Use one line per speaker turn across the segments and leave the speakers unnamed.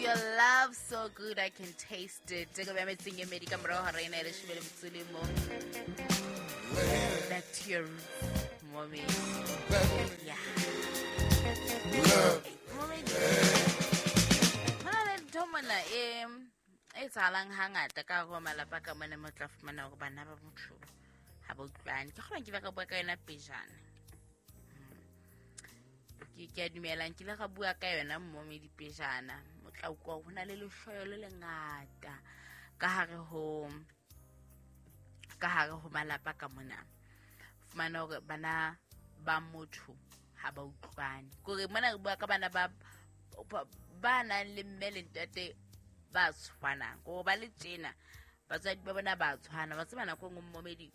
Your love so good I can taste it. Teko bya metseng e medi ka morago ga rena e leshome le metso le mong. Back to your roots, mommy. Yeah. Mommy. Ho na le ntho mona e etsahalang hangata ka hare ho malapa ka mona mo tla fumana hore bana ba motho ha ba utlwane. Ke kgona ke ba ka bua ka yona pejana. Ke a dumela nkile ga bua ka yona mmomi dipejana. O tla utlwa ho na le lehloyo le lengata ka hare ho malapa ka mona. Fumana hore bana ba motho ha ba utlwane. Kore mona re bua ka bana ba nang le mme le ntate ba tshwanang. Kore ba le tjena batswadi ba bona ba tshwana. Ba tseba nako e nngwe mmomedi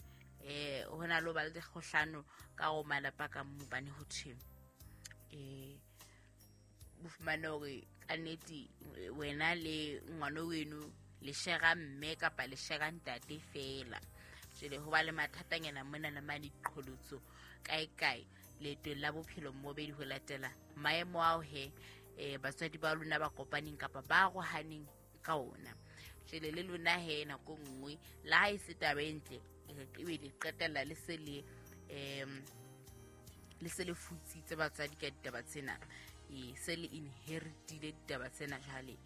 ho na le ho ba le dikgohlano ka ho malapa ka mo bane ho thwe o fumane hore ka nnete wena le ngwana weno le shera mme kapa le shera ntate fela. Jwale ho ba le mathatanyana mona le mane, diqholotso kae kae leetong la bophelo mmobedi ho latela maemo ao he batswadi ba lona ba kopaneng kapa ba arohaneng ka ona. Jwale le lona he nako nngwe le ha e se taba e ntle, ebe le qetella le se le le se le futsitse batswadi ka ditaba tsena, se le inheritile ditaba tsena jwale,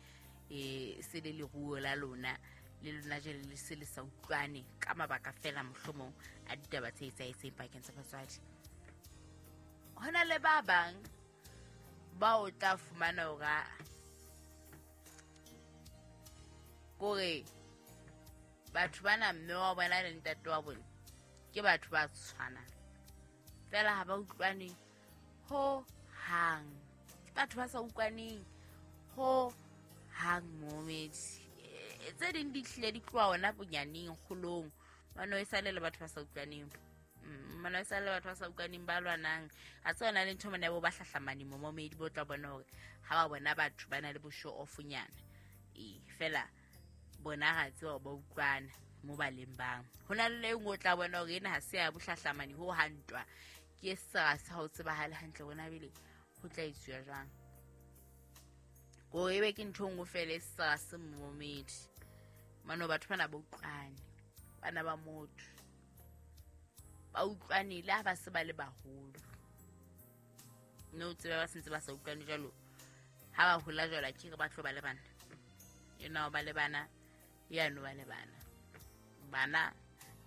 se le leruo la lona le lona jwale le se le sa utlwane ka mabaka fela mohlomong a ditaba tse etsahetseng pakeng tsa batswadi. Ho na le ba bang ba o tla fumana hore kore batho bana mme wa bona le ntate wa bona ke batho ba tshwanang fela ha ba utlwane ho hang. Ke batho ba sa utlwaneng ho hang momedi. Tse ding di hlile di tloha ona bonyaneng kgolong. Mano e sale le batho ba sa utlwaneng. Mano e sale le batho ba sa utlwaneng ba lwanang. A tse ona le ntho mona bo ba hlahlamane momedi bo tla bona hore ha ba bona batho ba na le bo show off-nyana. Fela bona ga tseba ba utlwana mo ba leng bang. Ho na le nngwe o tla bona hore ena ha se ya bohlahlamane ho hantwa. Ke sera sa ho tsebahale hantle bona bele ho tla etsuwa jwang. Ko ebe ke ntho nngwe fela e sera se momedi. Mano batho bana ba utlwane, bana ba motho ba utlwane le ha ba se ba le baholo. Mme o tsebe ba sentse ba sa utlwane jwalo ha ba hola jwalo a ke re ba tlo ba le bana. Ena ba le bana, ya no ba le bana. Bana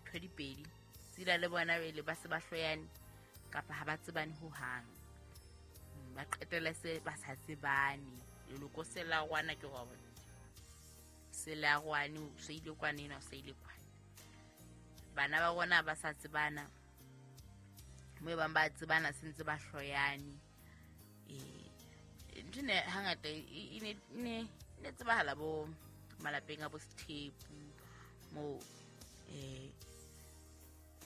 ntho di pedi tsila le bona pele ba se ba hloyane kapa ha ba tsebane ho hang. Ba qetelle se ba sa tsebane. Leloko se la rwana ke wa bona. Se la rwane o se ile kwana ena o se ile kwana. Bana ba rona ba sa tsebana. Mo e bang ba tsebana se ntse ba hloyane. Ntho ne hangata e ne tsebahala bo malapeng a bo Sethepu mo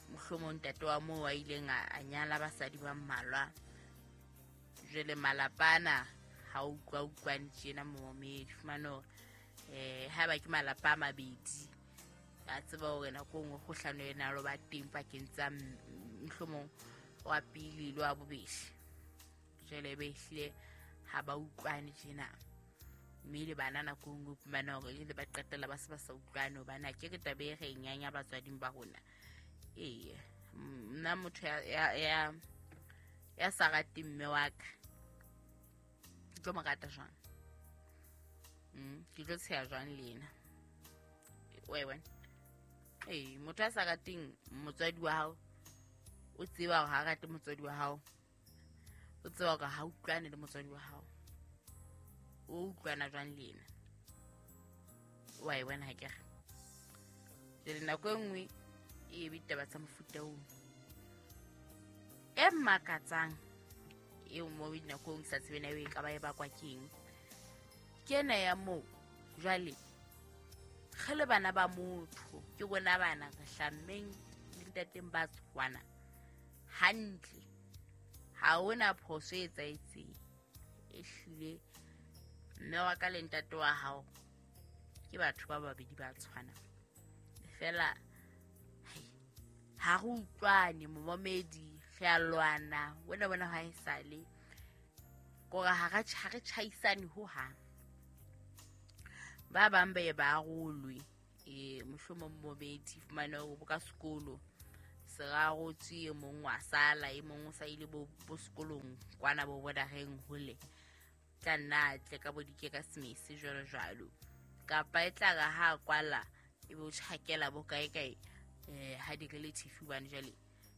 mohlomong ntate wa moo a ileng a nyala basadi ba mmalwa. Jwale malapa ana ha utlwa utlwane tjena momedi. Fumane hore haeba ke malapa a mabedi a tseba hore nako e nngwe kgohlano ena lo ba teng pakeng tsa mohlomong wa pele le wa bobedi. Jwale be ehlile ha ba utlwane tjena. Mme le bana nako e nngwe o fumana hore jwale ba qetella ba se ba sa utlwane hobane ha ke re taba e re e nyanya batswading ba rona. Ee, nna motho ya sa rateng mme wa ka ke tlo mo rata jwang? Ke tlo tsheha jwang le ena? Wa e bona? Ee, motho a sa rateng motswadi wa hao, o tseba hore ha rate motswadi wa hao, o tseba hore ha utlwane le motswadi wa hao, o utlwana jwang le ena? Wa e bona ha ke re? Jwale nako e nngwe e be ditaba tsa mofuta oo e makatsang eo mo dinakong sa tsebe na e ka ba e bakwa keng. Ke ena ya moo jwale re le bana ba motho, ke rona bana re hlammeng le ntateng ba tshwana hantle. Ha hona phoso e etsahetseng. Ehlile mme wa ka le ntate wa hao ke batho ba babedi ba tshwanang. Fela ha re utlwane momamedi, re a lwana wena bona ha e sale kore ha re tjhaisane ho hang. Ba bang ba ye ba arolwe, mohlomong momedi fumane hore bo ka sekolo se rarotswe, e mong wa sala, e mong o sa ile bo sekolong kwana bo bodareng hole, tla nna a tle ka bo dike ka semese jwalo jwalo. Kapa e tla re ha kwala e be o tjhakela bo kae kae, ha di-relative hobane jwale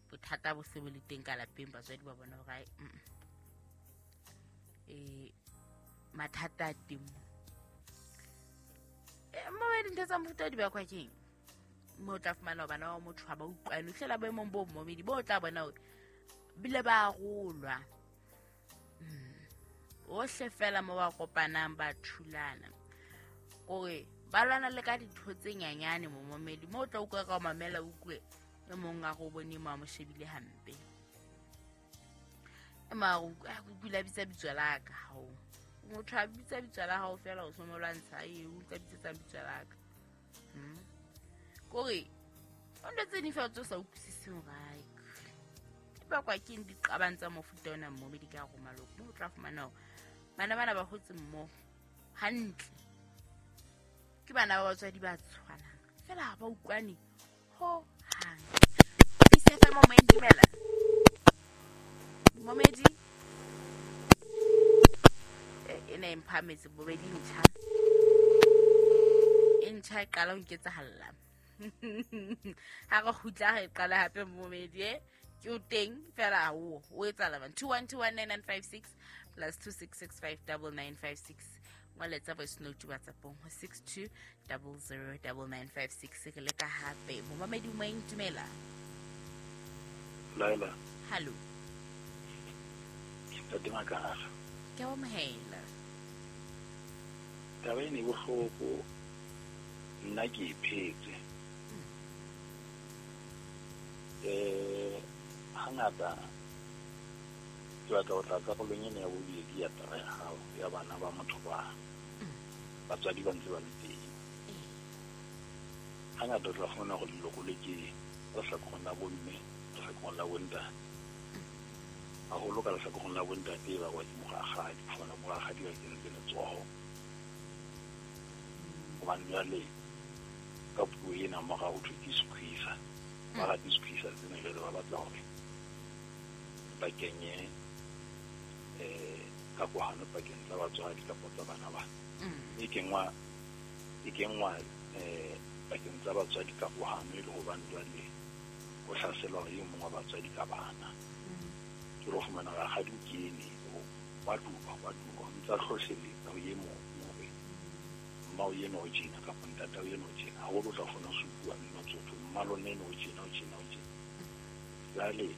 bothata bo se bo le teng ka lapeng, batswadi ba bona hore mathata a teng. Mo dintho tsa mofuta di bakwa keng? Mo tla fumana bana ba motho ha ba utlwane, o hlela boemong bo momedi bo tla bona hore bile ba arolwa. Ohle fela mo ba kopanang ba thulana, kore ba lwana le ka dintho tse nyanyane mo momedi, mo o tla utlwa ka o mamela utlwe e mong a go bone mo a mo shebile hampe, e mare o kula bitsa bitso la ka hao, motho a bitsa bitso la hao fela o so mo lwantsha, e o tla bitsetsa bitso la ka. Kore o ntho tse ding fela tse o sa utlwisiseng hore ai di bakwa ke eng diqabang tsa mofuta ona mmomedi ka hare ho maloko. Mo o tla fumana hore bana bana ba hotse mmoho hantle, ke bana ba batswadi ba tshwanang fela ha ba utlwane ho hang. PCFM mo dumela momedi e ne e mphametse bobedi ntjha e ntjha e qala ho nketsahalla. Ha re kgutla re qala hape momedi ke o teng fela o etsahala man. 21219956 plus 26659956 ngwaletsa voice note WhatsAppong ho 62009956. Re leka hape momamedi o moeng, dumela.
Laila.
Hallo.
Ntate Makara.
Ke a amohela.
Taba ena e bohloko, nna ke e phetse. Hangata ke batla ho tla karolong ena ya bobedi ya taba ya hao ya bana ba motho ba batswadi ba ntse ba le teng. Hangata o tla fumana hore leloko le ke ka lehlakoreng la bomme, lehlakoreng la bontate. Haholo ka lehlakoreng la bontate e bakwa ke morakgadi, o fumana morakgadi ba kentse letsoho. Hobane jwale ka puo ena morao ho thwe ke squeezer. Ba rate squeezer tsena jwale ba batla hore ba kenye kakohano pakeng tsa batswadi kapa tsa bana ba. E kenngwa pakeng tsa batswadi kakohano e le hobane jwale ho hlaselwa e mong wa batswadi ka bana. Ke lo fumana rakgadi o kene wa duba ntsa hlohleletsa ho e mong hore mma o ena o tjena kapa ntata o ena o tjena. Haholo o tla kgona ho supuwa mmino tsotho, mma lona ena o tjena o tjena o tjena. Jwale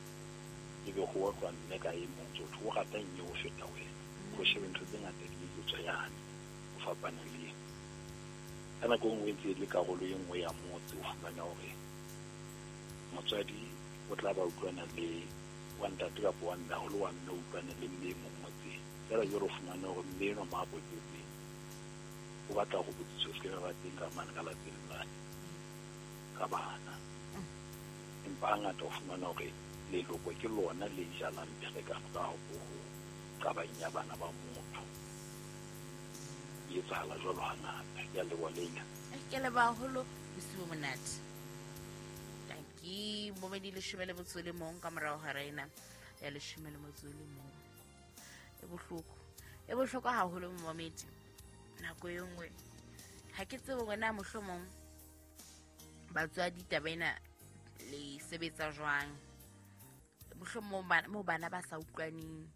ebe ho otlwa mme ka e mong tsotho o rata eng ho feta wena. Ho shebe ntho tse ngata di etswa yane ho fapana le ena. Ka nako e nngwe e ntse e le karolo e nngwe ya motse, o fumana hore motswadi o tla ba utlwana le wa ntate kapa wa mme, haholo wa mme o utlwana le mme e mong motseng. Feela jwale o fumane hore mme enwa mo a potetseng o batla hore botsitso se ke ba teng ka mane ka lapeng mane ka bana. Empa hangata o fumana hore leloko ke lona le jalang pherekano ka ho qabang ya bana ba motho. E etsahala jwalo hangata. Ke a leboha Leila.
Ke leboha haholo, bosiu bo monate. Tanki momedi 11 ka morao hora ena ya 11. E bohloko. E bohloko haholo momedi. Nako e nngwe ha ke tsebe hore na mohlomong batswadi taba ena le sebetsa jwang. Mohlomong mo bana ba sa utlwaneng,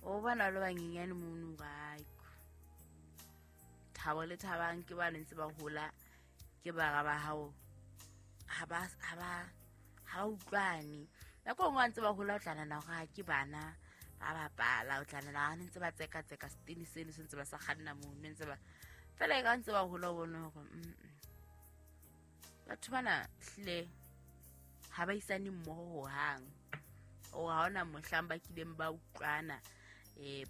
o bona le banyenyane mono ba thabo le thabang ke ba ntse ba hola, ke bara ba hao ha ba utlwane. Nako e nngwe ntse ba hola o tla nahana hore ke bana ba bapala, o tla nahana ha ntse ba tseka setene seno se ntse ba sa kganna mono, ntse ba fela e ka ntse ba hola o bone hore batho bana hlile ha ba isane mmoho hohang. O ha hona mohlang ba kileng ba utlwana,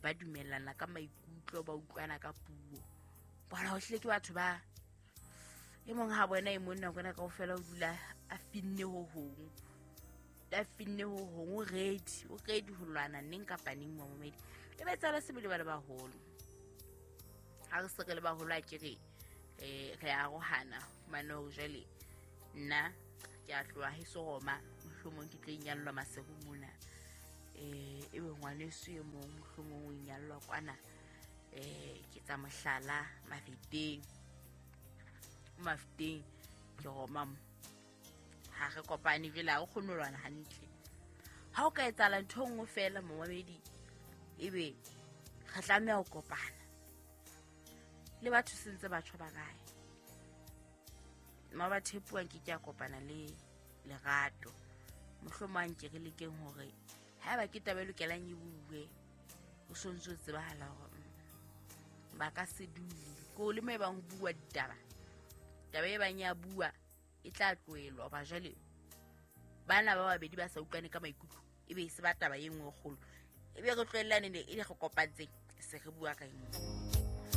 ba dumellana ka maikutlo, ba utlwana ka puo. Bona ho hlile ke batho ba e mong ha bona e mong nako ena kaofela o dula a finne ho hong, o ready ho lwana neng kapa neng momedi. E ba tsala sebele ba le baholo. Ha re se re le baholo a ke re Re arohana, fumane hore jwale nna ke a tloha heso Roma, mohlomong ke tlo inyallwa Maseru mona. Ebe ngwaneso e mong mohlomong o inyallwa kwana, ke tsa mohlala Mafeteng. Mafeteng ke Roma mo. Ha re kopane jwale, ha re kgone ho lwana hantle. Ha o ka etsahala ntho e nngwe feela momamedi, ebe re tlameha ho kopana le batho sentse batho ba kae. Mabathepuwang ke ke a kopana le Lerato. Mohlomong a nke re lekeng hore haeba ke taba e lokelang e bue, o sontso o tsebahala hore ba ka se dule. Ko le mo e bang ho bua ditaba, taba e bang ya bua e tla tlohellwa hoba jwale bana ba babedi ba sa utlwane ka maikutlo, ebe e se ba taba e nngwe e kgolo. Ebe re tlohellane ne e le re kopantseng, se re bua ka e nngwe.